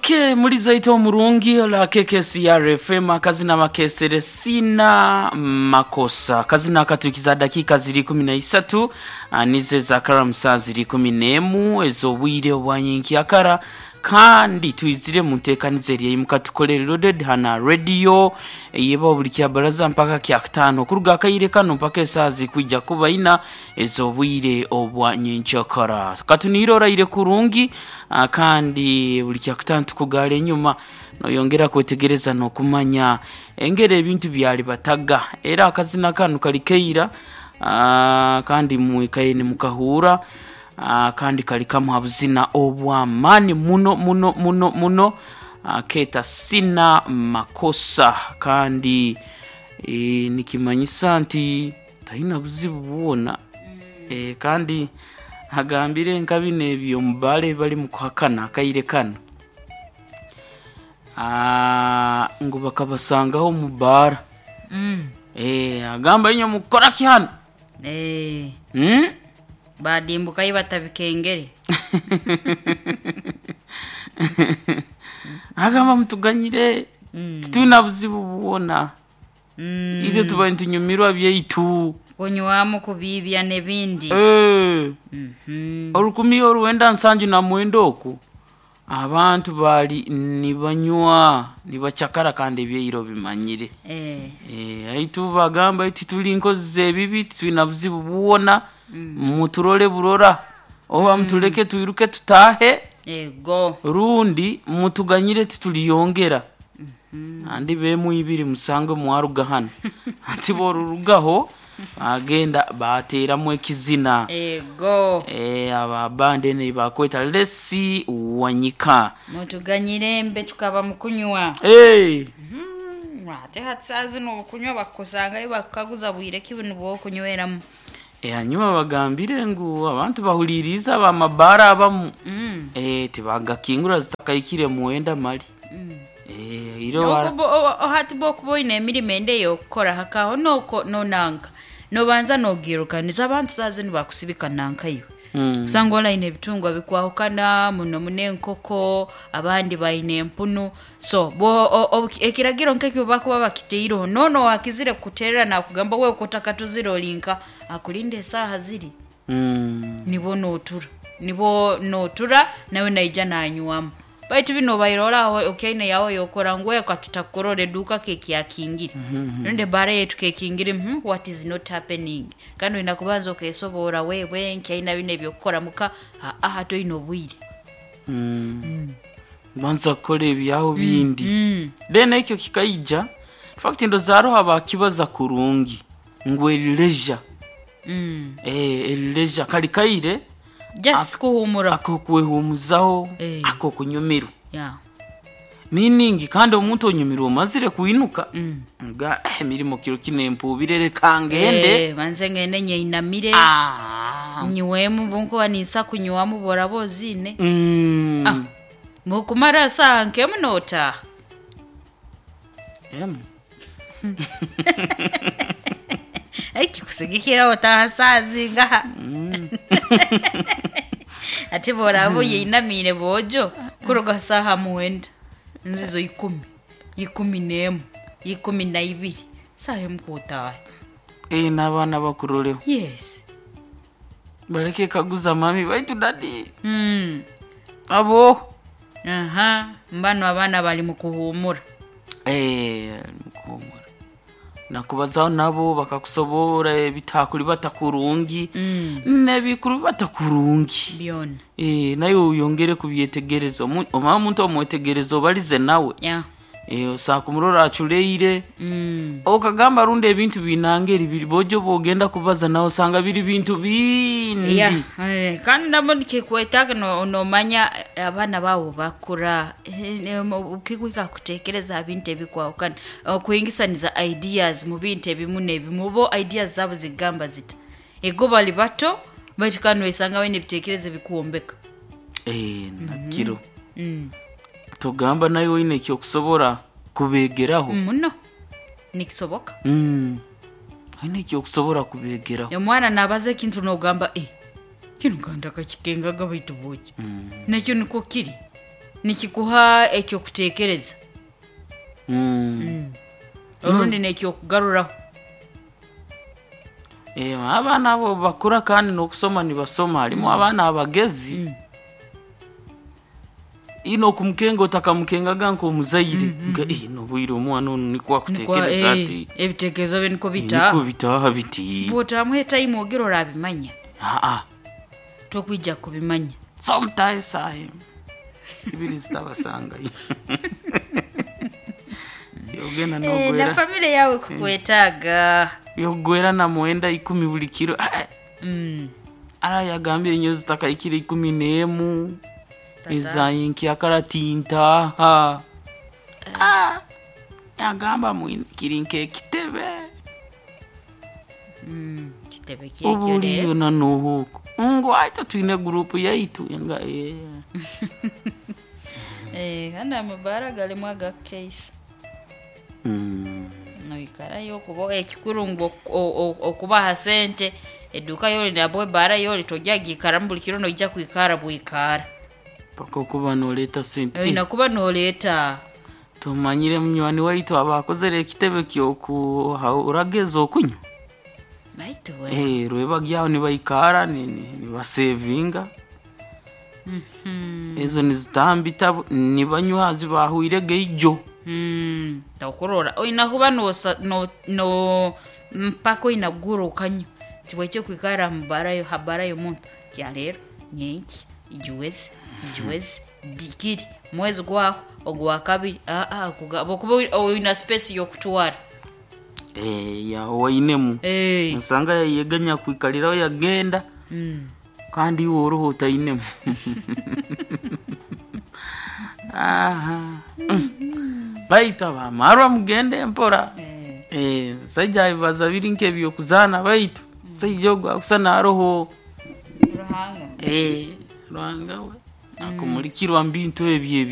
Ok muri zaito omurungi ola KKCR FM akazina makesere sina makosa akazina akatukiza dakika ziri 13 nize za karamusa ziri 11 ez'obwire obwanyenkyakara kandi twizire mu nteekaniza eri eyimukatukolere loaded hana radio eyeba buli kyabaraza mpaka kyakutaano okuruga akaire kano mpaka esaaha zikwija kuba ina ez'obwire obwa nyenkyakara katuniire oraire kurungi ah, kandi buli kyakutaano tukugaara enyuma noyongera kwetegereza n'okumanya engeri ebintu byali bataga era akazina kanu kali keira ah, kandi mwikaye nimukahuura ah, kandi kali kamu ha buzina obw'amaani muno muno muno muno ah, keeta sina makosa kandi e, nikimanyisa nti talina buzibu bwona e, kandi agambire nka bino ebyo omubaala ebibali mu kuhakana akaire kano Ah, ngu bakabasangaho omu baara Mm. e, agamba inywe mukukora ki hano Eh, hmm? badimbukayo batabikengere agamba mutuganyire Mm. titulina buzibu bwona Mm. itwe tuba nitunyumirwa byaitu kunywamu kubibya n'ebindi Eh, Mhm. orukumi oruwenda nsanju na mwenda oku abantu bali nibanywa nibacakara kandi ebyeiro bimanyire Eh, Eh, aitu bagamba iti tuli nkozi z'ebibi titulina buzibu bwona muturole burora oba mutuleke twiruke tutahe ego rundi mutuganyire tituliyongera andi bemu ibiri musange mwaruga hano anti borurugaho bagenda bateramu ekizina ego e, aba band ene bakweta lesi wanyika mutuganyire mbe tukaba mukunywa hey. Mm, ate hati zino okunywa bakusangayo bakukaguza bwire ki bino bwokunyweramu e, hanyuma bagambire ngu abantu bahuliriza abamabara abamu Mm, e, tibagakingura zitakayikire muwenda mali mm. e, iro bara- hati bwokuba oine emirimo ende ey'okukora hakaho noko nonanka nobanza nogirukaniza abantu saa zino bakusibika nankayo Mm. usanga olaine ebitungwa bikwahukana muno muno enkoko abandi baine empunu so bo ekiragiro nkekyo bakuba bakiteireho nono wakizire kukuterera nakugamba we kotakatuzire olinka akulinda esaaha ziri Mm. nibo notura nibo notura nawe naija nanywamu baitu bino obaire oraho okyaine yawe yokora ngu eka tutakurora eduka kekyakingire rundi ebara yetu kekingire what is not happening kandi oina kubanza okesobora wewe nkyaina bino ebyokukora muka aa toine obwire Mm. banza kukora ebyaho bindi mm. then ekyo kikaija fact ndoza bakibaza kurungi ngu erileisure Mm. eh erileisure kali kaire just kuhumura akokwehumuzaho Eh. akokunyumirwa yeah. meaning kandi omuntu onyumirwa omazire kwinuka mm. nga eh, emirimo kiro kino empuubire reka ngende Eh, banze ngende nyeinamire Ah. nywemu bunkuba ninsa kunywamu boraba ozine Mm. Ah. mukumara saha nkemu notaha Em. ekikusigikira otaha saa zingaha ate boraba oyeinamire bojo kuruga saha mwenda nzizo ikumi 11 12 saha emu kutaha Eh, n'abaana bakuroleho yes baleke kaguza mami baitu dadi mm. abo aha mbano abaana bali mukuhumura Eh, mukuhumura nakubazaho nabo bakakusobora ebitakuli batakurungi mm. nebikuru batakurungi byona Eh, naye oyongere kubyetegereza omanye omuntu omwetegereza obalize nawe yeah. Eh, osanga kumurora aculeire mm. okagamba rundi ebintu binangeri biri bojo bwogenda kubaza nawe osanga biri bintu bindi Yeah, eh, kandi nabo nikikwetaaga nomanya abaana baabo bakura ukikwika kutekereza bintu ebikwahukana okuhingisaniza ideas mu bintu ebimu n'ebimu bo ideas zaabo zigamba zita ego bali bato baitu kandi wesanga baine ebitekerezo ebikwombeka Eh, nakiro mm. togamba nawe oine ekyokusobora kubegeraho muno nikisoboka Mm. oine ekyokusobora kubegeraho omwana nabaza ekintu nogamba eh, kinu kandi akakikengaga baitu bwoki Mm. nakyo nikwo kiri Nikikuha ekyokutekereza. Orundi nekyokugaruraho. Abaana abo bakura kandi n'okusoma nibasoma. Harimu abaana abagezi ino okumukenga otakamukengaga nk'omuzaire nka nobwire omwana onu nikwo akutekereza ati. Ebitekerezo bye niko Niko bitaaha. Bitaaha biti. Bwotamuha etaimu ogira orabimanya. Aa. Tokwija kubimanya. Somutahe esaaha emwe ibiri zitabasangayo yogenda. Eh, na Nogwera famire yawe kukwetaaga. Yogwera na mwenda 10 buli kiro. Ah, ara yagambye enyo zitakaikire 11. Tata. Ezayinki tintaha. Ah, yagamba kiri nk'ekitebe. Kitebe kyekyo Obuliyo rero. Nanuhuko ngu aita twine gurupu yaitu nga eh. Eh, kandi amabara galimu agakeisa. Noikarayo okuba ekikuru ngu okubaha sente eduka yoli nabwo ebara yoli tojja giikaramu buli kiro noija kwikara bwikara. Paka okuba noleeta sente. Oina kuba noleeta. Tumanyire munywani waitu aba akozere ekitebe kyoku urageza okunywa. Baitu we. Rwebagyaho nibaikara nibasevinga ezo nizitambita nibanywa zibahwirege ijo. Tokurora oina kuba nosa no, no mpaka oina kugura okanywa tibwekye kwikara mubarayo habarayo muntu kyaleero nyenki ijuwezi ijuwezi dikiri mwezi gwaho ogwa kabiri aa okuba oina space yokutwara. Yaho wainemu. Osanga yayeganya kwikaliraho yagenda kandi iwe oruho otainemu. Aha. Baitu abamarwa mugende mpora. Saija abibaza biri nk'ebyokuzaana baitu saija ogu akusa naroho. Ruhanga. Ruhanga we akumulikirwa mu bintu ebyo.